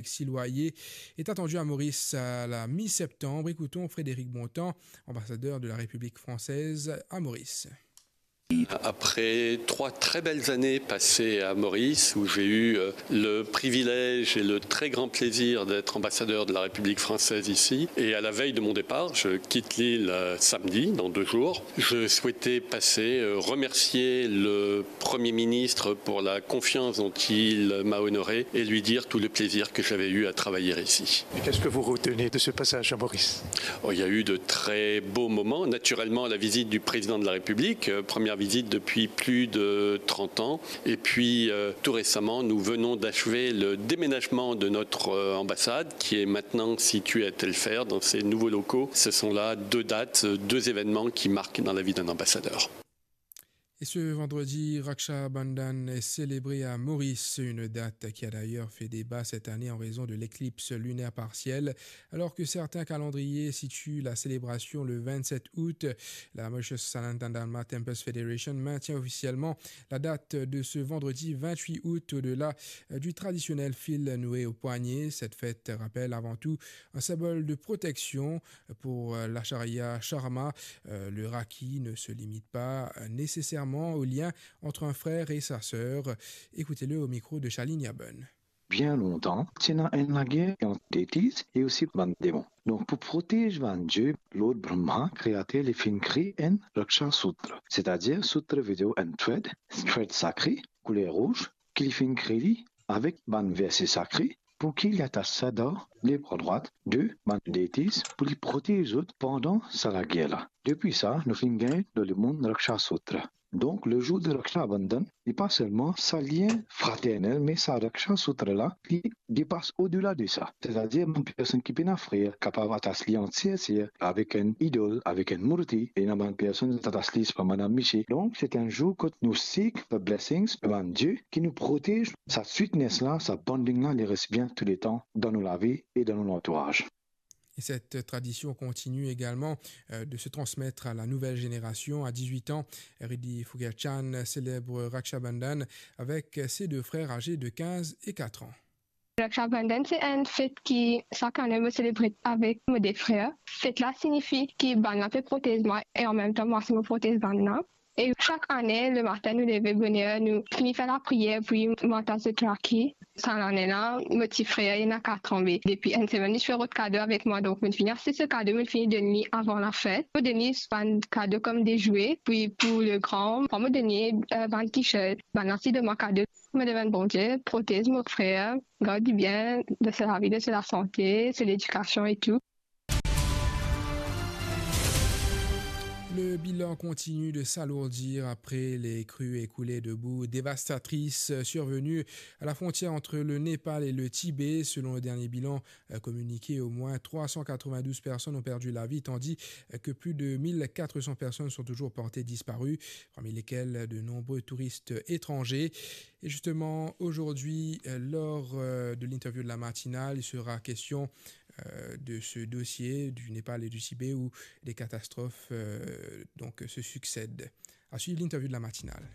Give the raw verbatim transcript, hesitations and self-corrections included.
Alexis Loyer est attendu à Maurice à la mi-septembre. Écoutons Frédéric Bontemps, ambassadeur de la République française à Maurice. Après trois très belles années passées à Maurice, où j'ai eu, euh, le privilège et le très grand plaisir d'être ambassadeur de la République française ici, et à la veille de mon départ, je quitte l'île, euh, samedi, dans deux jours, je souhaitais passer, euh, remercier le Premier ministre pour la confiance dont il m'a honoré et lui dire tout le plaisir que j'avais eu à travailler ici. Et qu'est-ce que vous retenez de ce passage à Maurice ? Oh, il y a eu de très beaux moments. Naturellement, la visite du président de la République, euh, première visite depuis plus de trente ans. Et puis, euh, tout récemment, nous venons d'achever le déménagement de notre, euh, ambassade, qui est maintenant située à Telfert, dans ses nouveaux locaux. Ce sont là deux dates, euh, deux événements qui marquent dans la vie d'un ambassadeur. Et ce vendredi, Raksha Bandhan est célébré à Maurice, une date qui a d'ailleurs fait débat cette année en raison de l'éclipse lunaire partielle. Alors que certains calendriers situent la célébration le vingt-sept août, la Mauritius Sanatan Dharma Temples Federation maintient officiellement la date de ce vendredi vingt-huit août au-delà, euh, du traditionnel fil noué au poignet. Cette fête rappelle avant tout un symbole de protection pour, euh, l'Acharya Sharma. Euh, le Rakhi ne se limite pas, euh, nécessairement au lien entre un frère et sa sœur. Écoutez-le au micro de Charline Yaben. Bien lontan, ti ena enn lager ant deities e osi bann demon. Donk, pou protez bann die, Lord Brahma, kreater, li finn kree enn Raksha Sutra, setadir Sutra Video and Thread, thread sakre, kouler rouz, ki li finn kree li avek bann verse sakre, pou ki li atas sa dan lebra drwat de bann deities pou li protez zot pandan sa lager la. Depi sa, nou finn gagn dan lemonn Raksha Sutra. Donk, le jour de Raksha Bandhan, li pa selman sa lien fraternel, me sa Raksha Sutra la, li depas odela de sa. Setadir, bann personn ki pena frer, kapav atas li ant ser, ser, avek enn idol, avek enn mourti, e ena bann personn atas li, se pa bann amisie. Donk, se enn zour kot nou seek for blessings, bann die ki nou protez, sa sweetness la, sa bonding la, li res bien touletan dan nou lavi e dan nou lantouraz. Et cette tradition continue également, euh, de se transmettre à la nouvelle génération. À dix-huit ans, Riddhi Phuker Chan célèbre Raksha Bandhan avec ses deux frères âgés de quinze et quatre ans. Raksha Bandhan se enn fet ki sak ane mo selebre avek mo de frer. Fet la signifi ki bann la pe protez mwa e anmemtan mwa si mo protez bann la. E sak ane, lematin nou leve boner, nou fini fer lapriyer, pi mo atas zot Rakhi. Sa lane la, mo ti frer, li ena katran, be depi enn semenn, li ti fer rod kado avek mwa, donk mo fini aste so kado, mo fini donn li avan lafet. Mo donn li bann kado kom de zwe, pi pou le gran, mo donn li, eh, bann t-shirt. Bann la ti donn mwa kado. Mo demann Bondie, protez mo frer, gard li bien, dan so lavi, dan so lasante, so ledikasion e tou. Le bilan continue de s'alourdir après les crues écoulées de boue dévastatrices survenues à la frontière entre le Népal et le Tibet. Selon le dernier bilan, euh, communiqué, au moins trois cent quatre-vingt-douze personnes ont perdu la vie, tandis que plus de mille quatre cents personnes sont toujours portées disparues, parmi lesquelles de nombreux touristes étrangers. Et justement, aujourd'hui, euh, lors, euh, de l'interview de la matinale, il sera question, euh, de ce dossier du Népal et du Tibet où des catastrophes, euh, donc, se succèdent. À suivre l'interview de la matinale.